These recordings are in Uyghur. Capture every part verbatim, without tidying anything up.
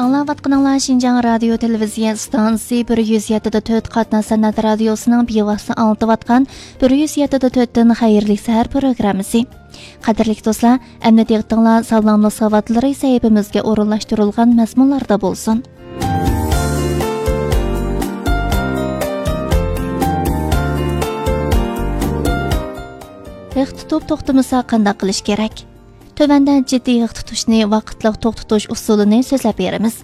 ئاڭلاۋاتقىنىڭلار شىنجاڭ رادىيو تېلېۋىزىيە ئىستانسىسى بىر يۈز يەتتە دە تۆت قاتناش سەنئەت رادىيوسىنىڭ بىۋاسىتە ئاڭلىتىۋاتقان بىر يۈز يەتتە دە تۆتتىن خەيرلىك سەھەر پروگراممىسى. قەدىرلىك دوستلار، ئەمدى دىققىتىڭلار ساغلاملىق ساۋاتلىرى سەھىپىمىزگە ئورۇنلاشتۇرۇلغان مەزمۇنلاردا بولسۇن. ھىق تۇتۇپ توختىمىسا قانداق قىلىش كېرەك؟ تۆۋەندە جىددىي ھىق تۇتۇشنى ۋاقىتلىق توختىتىش ئۇسۇلىنى سۆزلەپ بېرىمىز.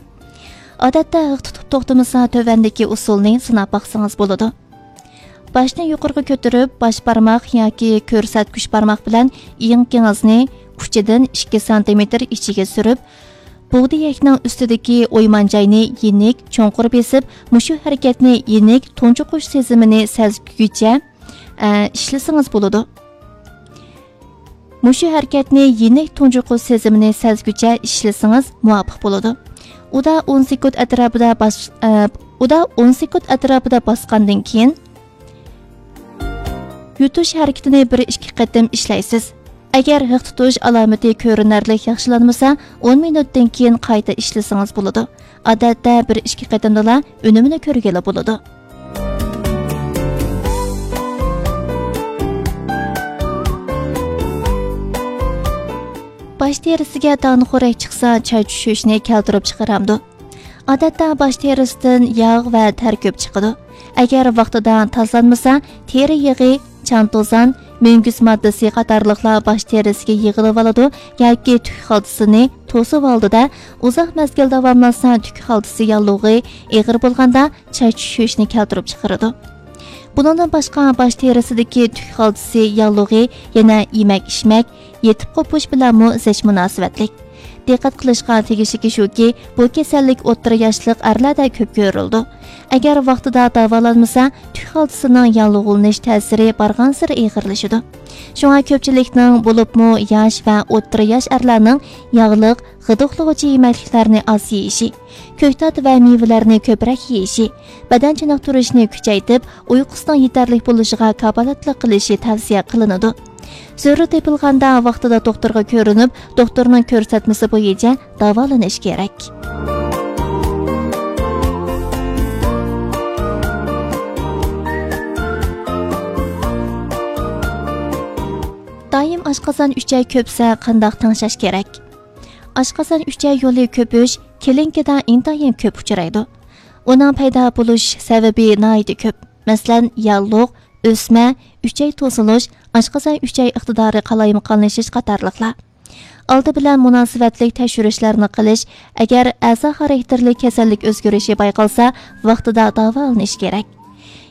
ئادەتتە ھىق تۇتۇپ توختىمىسا تۆۋەندىكى ئۇسۇلنى سىناپ باقسىڭىز بولىدۇ. باشنى يۇقىرىغا كۆتۈرۈپ، باش بارماق ياكى كۆرسەتكۈچ بارماق بىلەن ئېڭىكىڭىزنى ئۇچىدىن ئىككى سانتىمېتىر ئىچىگە سۈرۈپ، بۇغدىيەكنىڭ ئۈستىدىكى ئويمان جاينى يېنىك، چوڭقۇر بېسىپ، مۇشۇ ھەرىكەتنى يېنىك تۇنجۇقۇش سېزىمىنى سەزگۈچە، ئە، ئىشلىسىڭىز بولىدۇ. مۇشۇ ھەرىكەتنى يېنىك تۇنجۇقۇش سېزىمىنى سەزگۈچە ئىشلىسىڭىز مۇۋاپىق بولىدۇ. ئۇدا ئون سېكۇنت ئەتراپىدا باس-، ئە، ئۇدا ئون سېكۇنت ئەتراپىدا باسقاندىن كېيىن، يۇتۇش ھەرىكىتىنى بىر ئىككى قېتىم ئىشلەيسىز. ئەگەر ھىق تۇتۇش ئالامىتى كۆرۈنەرلىك ياخشىلانمىسا، ئون مىنۇتتىن كېيىن قايتا ئىشلىسىڭىز بولىدۇ. ئادەتتە بىر ئىككى قېتىمدىلا ئۈنۈمىنى كۆرگىلى بولىدۇ. باش تېرىسىگە دانىخورەك چىقسا، چاچ چۈشۈشنى كەلتۈرۈپ چىقىرامدۇ؟ ئادەتتە باش تېرىسىدىن ياغ ۋە تەر كۆپ چىقىدۇ. ئەگەر ۋاقتىدا تازىلانمىسا، تېرە يېغى، چان توزان، مۈڭگۈز ماددىسى قاتارلىقلار باش تېرىسىگە يىغىلىۋالىدۇ ياكى تۈك خالتىسىنى توسۇۋالىدۇ-دە، ئۇزاق مەزگىل داۋاملاشسا، تۈك خالتىسى ياللۇغى، ئېغىر بولغاندا چاچ چۈشۈشنى كەلتۈرۈپ چىقىرىدۇ. بۇنىڭدىن باشقا، باش تېرىسىدىكى تۈك خالتىسى ياللۇغى يەنە يېمەك-ئىچمەك، يېتىپ قوپۇش بىلەنمۇ زىچ مۇناسىۋەتلىك. دىققەت قىلىشقا تېگىشلىكى شۇكى، بۇ كېسەللىك ئوتتۇرا ياشلىق ئەرلەردە كۆپ كۆرۈلىدۇ. ئەگەر ۋاقتىدا داۋالانمىسا، تۈك خالتىسىنىڭ ياللۇغلىنىش تەسىرى بارغانسېرى ئېغىرلىشىدۇ. شۇڭا كۆپچىلىكنىڭ، بولۇپمۇ ياش ۋە ئوتتۇرا ياش ئەرلەرنىڭ ياغلىق، غىدىقلىغۇچى يېمەكلىكلەرنى ئاز يېيىشى، كۆكتات ۋە مېۋىلەرنى كۆپرەك يېيىشى، بەدەن چېنىقتۇرۇشنى كۈچەيتىپ، ئۇيقۇسىنىڭ يېتەرلىك بولۇشىغا كاپالەتلىك قىلىشى تەۋسىيە قىلىنىدۇ. زۆرۈر تېپىلغاندا ۋاقتىدا دوختۇرغا كۆرۈنۈپ، دوختۇرنىڭ كۆرسەتمىسى بويىچە داۋالىنىش كېرەك. دائىم ئاشقازان ئۈچەي كۆپسە قانداق تەڭشەش كېرەك؟ ئاشقازان ئۈچەي يولى كۆپۈش كلىنىكىدا ئىنتايىن كۆپ ئۇچرايدۇ. ئۇنىڭ پەيدا بولۇش سەۋەبى ناھايىتى كۆپ. مەسىلەن، ياللۇغ، ئۆسمە، ئۈچەي توسۇلۇش، ئاشقازان ئۈچەي ئىقتىدارى قالايمىقانلىشىش قاتارلىقلار. ئالدى بىلەن مۇناسىۋەتلىك تەكشۈرۈشلەرنى قىلىش، ئەگەر ئەزا خاراكتېرلىك كېسەللىك ئۆزگىرىشى بايقالسا، ۋاقتىدا داۋالىنىش كېرەك.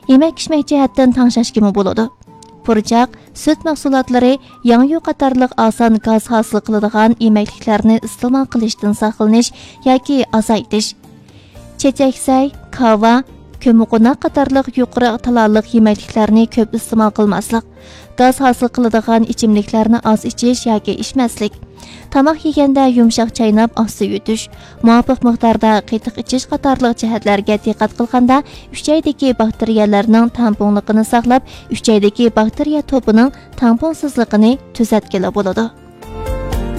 يېمەك-ئىچمەك جەھەتتىن تەڭشەشكىمۇ بولىدۇ. پۇرچاق، سۈت مەھسۇلاتلىرى، ياڭيۇ قاتارلىق ئاسان گاز ھاسىل قىلىدىغان يېمەكلىكلەرنى ئىستېمال قىلىشتىن ساقلىنىش ياكى ئازايتىش. چېچەكسەي، كاۋا، كۆممىقوناق قاتارلىق يۇقىرى تالالىق يېمەكلىكلەرنى كۆپ ئىستېمال قىلماسلىق. گاز ھاسىل قىلىدىغان ئىچىملىكلەرنى ئاز ئىچىش ياكى ئىچمەسلىك. تاماق يېگەندە يۇمشاق چايناپ، ئاستا يۇتۇش. مۇۋاپىق مىقداردا قېتىق ئىچىش قاتارلىق جەھەتلەرگە دىققەت قىلغاندا، ئۈچەيدىكى باكتېرىيەلەرنىڭ تەڭپۇڭلۇقىنى ساقلاپ، ئۈچەيدىكى باكتېرىيە توپىنىڭ تەڭپۇڭسىزلىقىنى تۈزەتكىلى بولىدۇ.